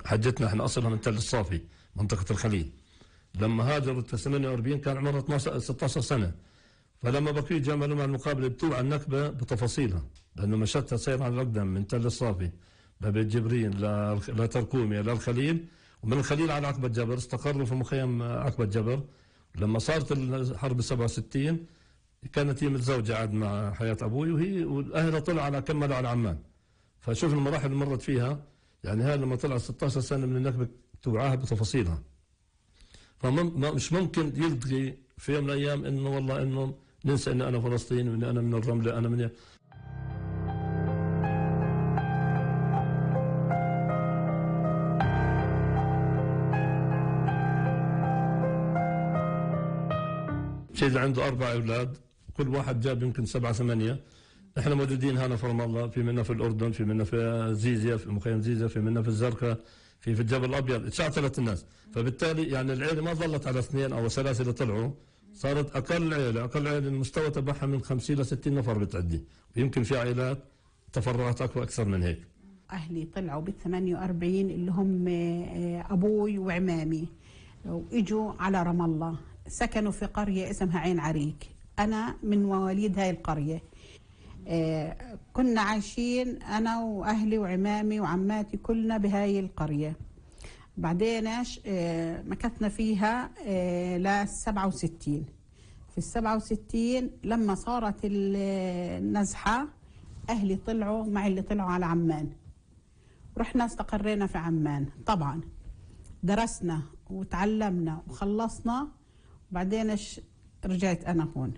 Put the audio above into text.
حجتنا احنا اصلها من تل الصافي منطقة الخليل. لما هاجرت في 48 كان عمرها 16 سنة. فلما بقيت جمعوا مع المقابلة بتوع النكبة بتفاصيلها، لأنه مشتها سير على الأقدم من تل الصافي لبيت جبرين لتركومية للخليل، ومن الخليل على عقبة جبر. استقروا في مخيم عقبة جبر. لما صارت الحرب 67 كانت هي متزوجة عاد مع حياة أبوي، وهي وأهلها طلعوا على كملوا على عمان. فشوف المراحل اللي مرت فيها. يعني هذا لما طلع 16 سنة من النكبة توعاها بتفاصيلها. فمش ممكن يلغي في يوم من الأيام إنه والله إنه ننسى إن أنا فلسطيني وإن أنا من الرملة أنا من شيء. عنده 4 أولاد، كل واحد جاب يمكن 7 8. احنا موجودين هنا في رام الله، في منا في الأردن، في منا في زيزيا، في مخيم زيزيا، في منا في الزرقاء، في الجبل الأبيض. تشعتلت الناس. فبالتالي يعني العيلة ما ظلت على 2 أو 3 اللي طلعوا، صارت أقل عيلة المستوى تبعها من 50 ل 60 نفر بتعدي، ويمكن في عائلات تفرعت أكثر من هيك. أهلي طلعوا بال48 اللي هم أبوي وعمامي، وإجوا على رام الله، سكنوا في قرية اسمها عين عريك. أنا من مواليد هاي القرية. كنا عايشين أنا وأهلي وعمامي وعماتي كلنا بهاي القرية. بعدين مكثنا فيها ل 67. في 67 لما صارت النزحة أهلي طلعوا مع اللي طلعوا على عمان. رحنا استقرينا في عمان. طبعا درسنا وتعلمنا وخلصنا، وبعدين رجعت أنا هون.